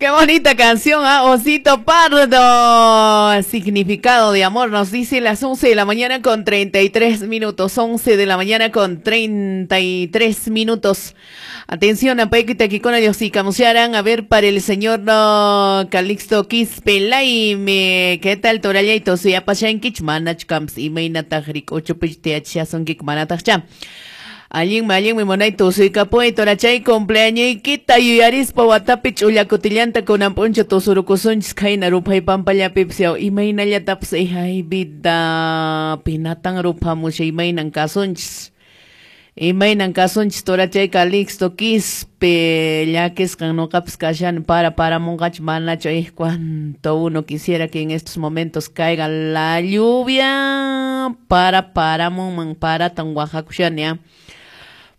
Qué bonita canción, ¿ah? Osito Pardo. Significado de amor, nos dice las 11 de la mañana con 33 minutos. 11 de la mañana con 33 minutos. Atención, a Paikita Kikona Diosika. A ver, para el señor no, Calixto Quispe Laime. ¿Qué tal, Torallayto? Suyapashankich, manach kamps, imaynataq ocho pich manataqcha. Allinmi, allinmi munay tusuykapuy torachay cumpleañoykita yuyarispa watapi ch'ullakutillanta kunan p'unchaw tusurukusunchis khayna ruphay pampallapipis yaw imaynallatapas ay vida pinatan ruphamusha imaynan kasunchis. Imaynan kasunchis torachay Calixto Quispe llakisqan nuqapas kashani para paramunqachu manachu ay cuánto uno quisiera que en estos momentos caiga la lluvia para paramunman paratan waqakushani ah.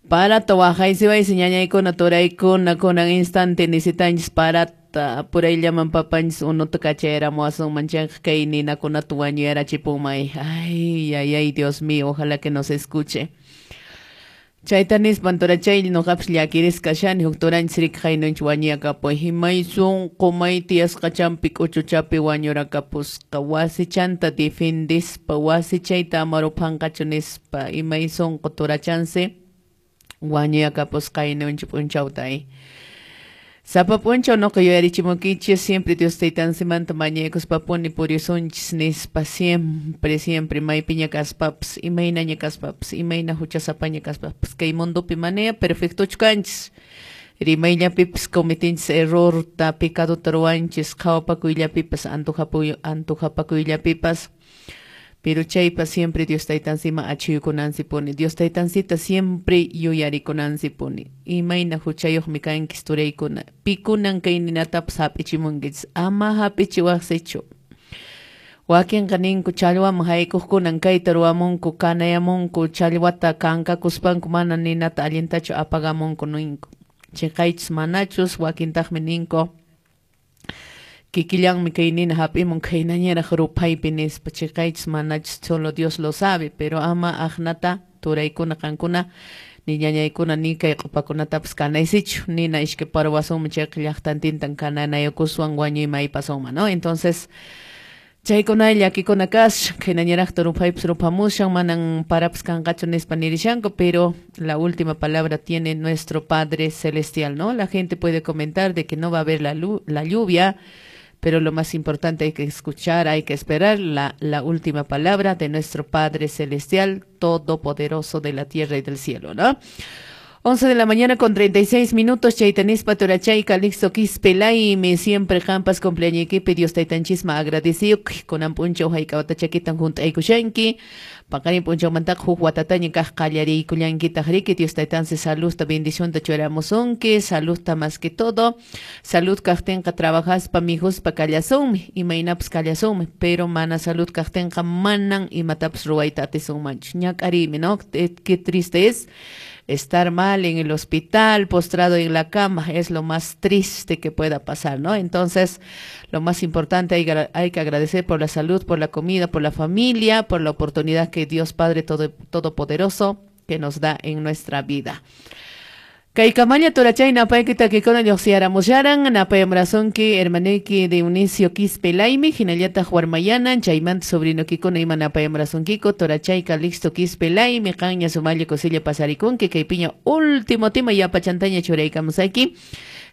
Para waqaysiwaysi ñañaykuna turaykuna kunan instante necesitanchis parata purayllaman papanchis unuta kachayaramuwasunman chayqa kay ninakunata wañuyarachipunmay. Ay, ay, ay, Dios mío, ojalá que nos escuche. Chayta nispan turachay nuqapas llakirisqa kashani huk turanchis riki haynunchik wañuyakapuy himay sunqu may tiyasqachanpi k'uchuchapi wañurakapusqa wasichanta defendispa wasichayta ama ruphanqachu nispa imay sunqu turachansi wañuyakapusqa haynunchik p'unchawta. Sapa p'unchaw nuqa yuyarichimunkichis siempre Dios taytansimanta mañaykuspapuni purisunchis nispa siempre, siempre maypiña kaspapas imaynaña kaspapas imayna huchasapaña kaspapas kay mundopi manaya perfectochu kanchis rimayllapipas cometinchis errorta pecadota ruwanchis qhawapakuyllapipas antojapakuyllapipas. Pero chaypa siempre Dios taytansima achuykunansipuni. Dios taytansita siempre yuyarikunansipuni. Imayna huchayuqmi kankis turaykuna. Pikunan kay ninatapas hap'ichimunkichis. Ama hap'ichiwaqsichu. Wakinqa ninku challwaman haykuqkunan kayta ruwamunku, kanayamunku, challwata kankakuspanku mana ninata allintachu apagamunku ninku. Chiqaychus manachus wakintaqmi ninku. Kikillanmi kay nina hap'imun khaynañaraq ruphaypi nispa chiqaychis manachus solo Dios lo sabe, pero ama aqnata turaykuna qankuna ni ñañaykuna ni kay q'upakunatapas kanaysichu nina iskay parwasunmi chayqa llaqtantintan kananayukuswan wañuyma aypasunman, ¿no? Entonces chaykuna llakikuna kashan khaynañaraqta ruphaypas ruphamushan manan parapas kanqachu nispa nirishanku, pero la última palabra tiene nuestro Padre Celestial, ¿no? La gente puede comentar de que no va a haber la lluvia, pero lo más importante hay que escuchar, hay que esperar la última palabra de nuestro Padre Celestial, Todopoderoso de la tierra y del cielo, ¿no? 11 de la mañana con 36 minutos, chaytanispa torachay, Calixto Quispe Laime, siempre qampas cumpleaños Dios taytanchisma agradecido, kunan p'unchaw hayk'awata chakitan hunt'aykushanki, paqarin p'unchawmantaqa huk watataña kaq qallariykullankitaq riki, Dios taytansi saludta, bendicionta churamusunki, saludta más que todo, salud kaqtinqa trabajaspa mijuspa kallasunmi, imaynapas kallasunmi, pero mana salud kaqtinqa manan imatapas ruwayta atisunmanchu, ñak'ariymi, ¿no? Qué triste es estar mal en el hospital, postrado en la cama, es lo más triste que pueda pasar, ¿no? Entonces, lo más importante, hay que agradecer por la salud, por la comida, por la familia, por la oportunidad que Dios Padre Todopoderoso que nos da en nuestra vida. Kaykamalla torachay napayki takikuna lluqsiyaramusharan napayamrasunki hermanuyki Dionisio Quispe Laime hinallataq warmayanan chaymanta sobrinokikuna ima napayamrasunkiko torachay Calixto Quispe Laime qanña sumalla kusilla pasarikunki kaypiña último tema yapachantaña churaykamusayki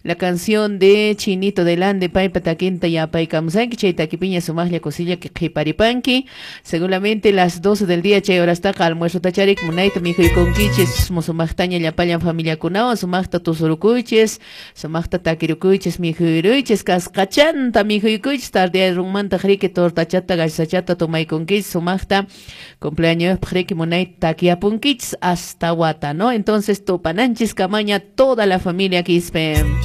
la canción de Chinito del Ande paypa takinta yapaykamusayki chay takipiña sumaqlla kusilla que qhiparipanki seguramente las 12 del día chay horastaqa almuerzo tacharik munayta mikhuykunkichis sumaqtaña llapallan familiakunawan sumaqta tusurukuychis sumaqta takirukuychis mikhuyuruychis kasqachanta mikhuyukuychis tardearunmantaq riki tortachata gasachata tomaykunkichis sumaqta cumpleañospaq riki munayta takiyapunkichis hasta wata, ¿no? Entonces tupananchis kamaña toda la familia Quispe.